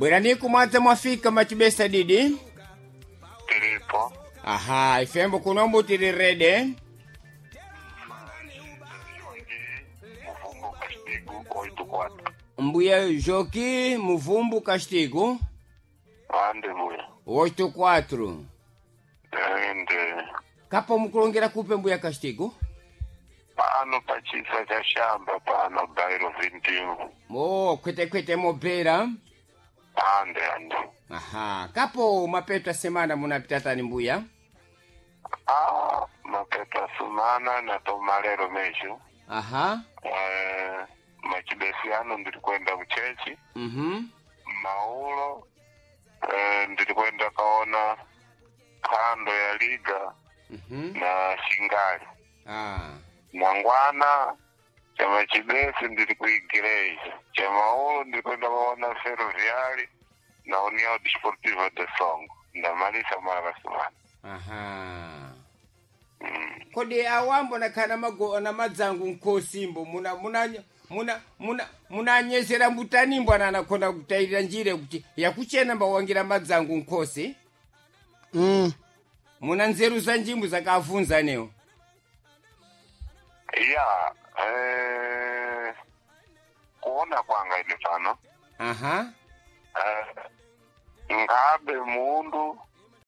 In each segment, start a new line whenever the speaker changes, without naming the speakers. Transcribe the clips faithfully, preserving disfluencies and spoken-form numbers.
Bwerani kumwadza mwafika machibesa didi.
Tiripo.
Aha, ifembo kunombo tili rede.
Muvumbu Castigo oito quatro.
Mbuya Joki Muvumbu Castigo
Ande mbuya.
oito quatro.
Ende
Kapo mukulongera kupe mbuya Castigo?
pano pachisa cha shamba pano bairo vinte e um.
Oh, kwete kwete mobera.
Ande ande.
Aha, kapo mapeto ya semana munapita tani mbuya?
Ah, mapeto sumana na tomalero mesho.
Aha.
Eh, machibesiano ndiri kwenda kuchechi.
Mhm.
Maulo eh, ndiri kwenda kaona kando ya liga
Mhm.
na shingali.
Ah.
Mangwana chama chibesi ndiri kuigireja chamaulo ndiri kwenda kuona ferroviari na União Desportiva de Songo ndamalisa mara kasumana.
Aha.
mm.
Kodi awambo nakhala mago na madzangu nkhosimbo muna muna muna muna munanyezera mbutanimbo ana anakhona kutayirira njire kuti yakuchena mbawangira madzangu nkhosi.
Mm.
Muna nzeru za njimbo zakavunza newo.
Ya, eh, kuona kwanga ine pano
Aha.
eh, ngabe mundu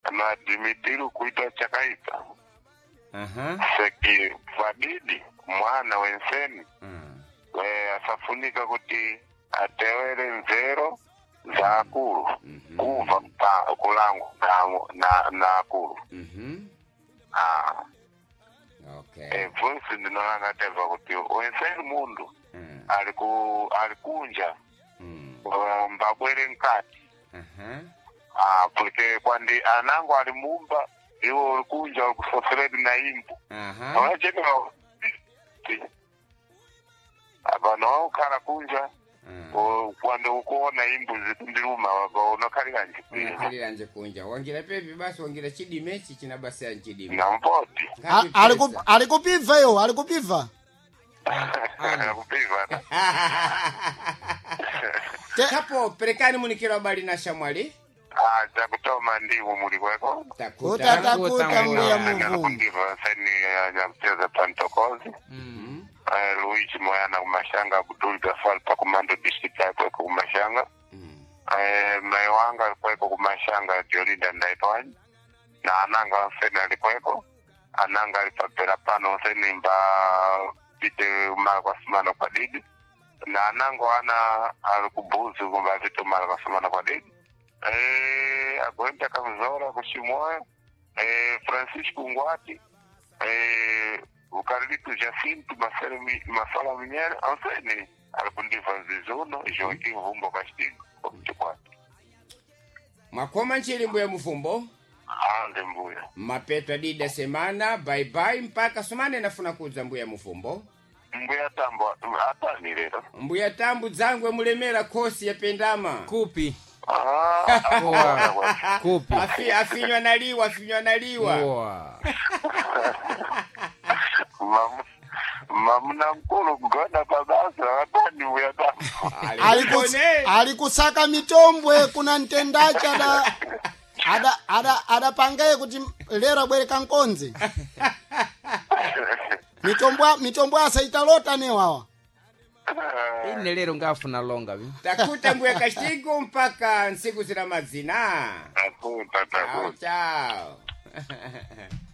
anadimitiru kuita chakaipa
Aha.
seki vadidi mwana wenseni.
Mm.
Eh, asafunika kuti atewere nzero za akulu kuva pa kulangu na, na, na akulu.
Mhm.
Ah,
Okay.
eh, voice ndinolanga teva kuti wenseni mundu
Mm.
aliku alikunja
Mm.
eh, mbabwere mkati.
Aha.
Ah, porque kwandi anango ali mumba iwo ulikunja ulikusoferedi na imbu.
Aha.
Awachekera apano waukhala kunja.
Mm.
Kwandi ukuona imbu zitundiluma unokhalira njipira.
Unakhalira nje kunja. Wangira pepi basi wangira chidime ichi china basi ya chidime.
Nampoti.
A- aliku- Alikupibva iwo, alikupibva.
Kupiva.
Te-
Kapo perekani munikiro habari na shamwali.
Ah, chakutoma ndiwo muli kweko.
Takuta.
Takuta mbuya Muvumbu.
Nakundiva seni nyakucheza pantokozi.
Mm.
Eh, Luigi Moyana kumashanga Abdul Gafal pa kumando district akweko kumashanga.
Mm.
Eh, mai wanga alikweko kumashanga Jolinda ndaitwanyi na ananga onseni alikweko ananga alipapera pano onseni mba pite mara kwa sumana kwa didi na anango ana alikubuzi kumba pite mara kwa sumana kwa didi. Eh, agoenda kamzora kushimoyo. Eh, Francisco Ngwati, eh, ukarilitu Jacinto Masero Mi- Masala Minyere onseni alikundiva zizuno Joaquim Vumbo Castilho okuchikwata.
Mwakoma nchili mbuya Muvumbo.
Ande mbuya.
Mapeto adida semana bye bye mpaka sumane nafuna kudza mbuya Muvumbo.
Mbuya Tambo atani lero?
Mbuya Tambu dzangwe mulemera khosi yapendama.
Kupi.
Ah,
Boa. Kupi.
Afi, afinywa naliwa afinywa naliwa.
Boa.
Mamu- mamuna mkulu kugona pabasa atani mbuya Tambo.
Alikus- alikusaka mitombwe kuna mtendachi ada ada ada adapangaye kuti lero abwereka nkonzi mitombwa mitombwa asaitalota newawa.
Ine lero ngafuna longa vi.
Takuta mbuya Castigo mpaka ntsiku zina madzina.
Takuta
Chao
takuta.
chao.